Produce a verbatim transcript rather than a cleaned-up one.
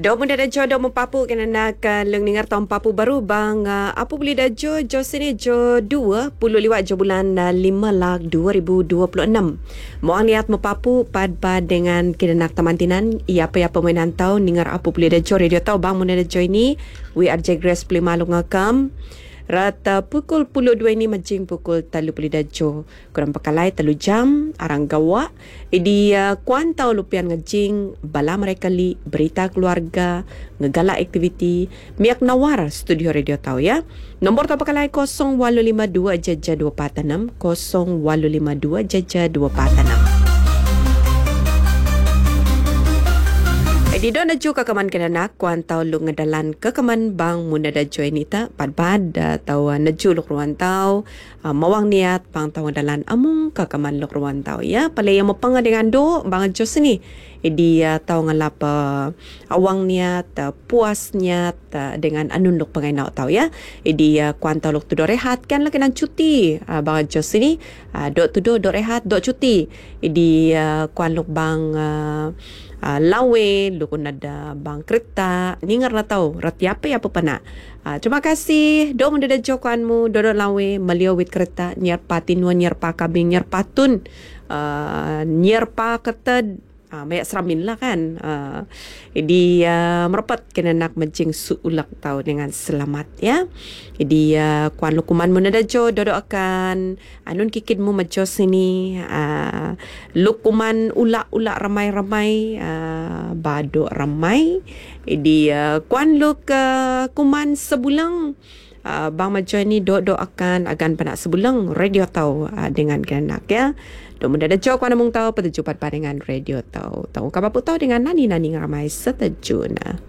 Do muda da jo do mempapu kena nak leng ningar tong papu baru bang apu beli da jo jo sini jo dua puluh liwat jo bulan lima lak dua ribu dua puluh enam. Moang niat mepapu pad pad dengan kena nak tamantinan ia apa ya permainan tau ningar apu beli da jo radio tau bang muda da jo ini W R J Grace lima lungakam. Rata pukul puluh dua ini majing pukul telu puluh dajo. Kurang pekalai telu jam arang gawa. Idi uh, kuantau lupian ngejing bala mereka li berita keluarga ngegala aktiviti miak nawar studio radio tau ya. Nombor tau pekalai kosong walu lima dua jaja dua empat enam kosong walu lima dua jaja dua empat enam. Di don aju ke keman kena nak kuantau lu ngedalan ke keman bang munada join ita pad-pad atau neju luk ruan tau mawang niat bang tau ngedalan amung ke keman luk ruan tau ya pale yang mepanga dengan do bang jo sini di tau ngelap awang niat puas niat dengan anun luk pangai nau tau ya di kuantau luk tudo rehat kan lagi nan cuti bang jo sini do tudo do rehat do cuti di kuan luk bang Uh, lawe lukun ada bang kereta ningar na tau rati apa ya apa pana. Uh, terima kasih do menda jokanmu do do lawe melio wit kereta nyer patinua nyer pa kabing nyer patun uh, nyer pa kereta uh, mayak seramin lah kan. Uh, di uh, merapat kena nak mencing suulak tau dengan selamat ya. Jadi uh, kuan lukuman mu nada jo dodo akan anun kikid mu majo sini uh, lukuman ulak-ulak ramai-ramai uh, baduk ramai. Jadi uh, kuan luk uh, kuman sebulang uh, bang majo ni dodo akan agan panak sebulang radio tau uh, dengan kenak ya. Dok muda ada jauh kuana mung tau petujuh pat dengan radio tau. Tau kapapu tau dengan nani-nani ramai setajuna.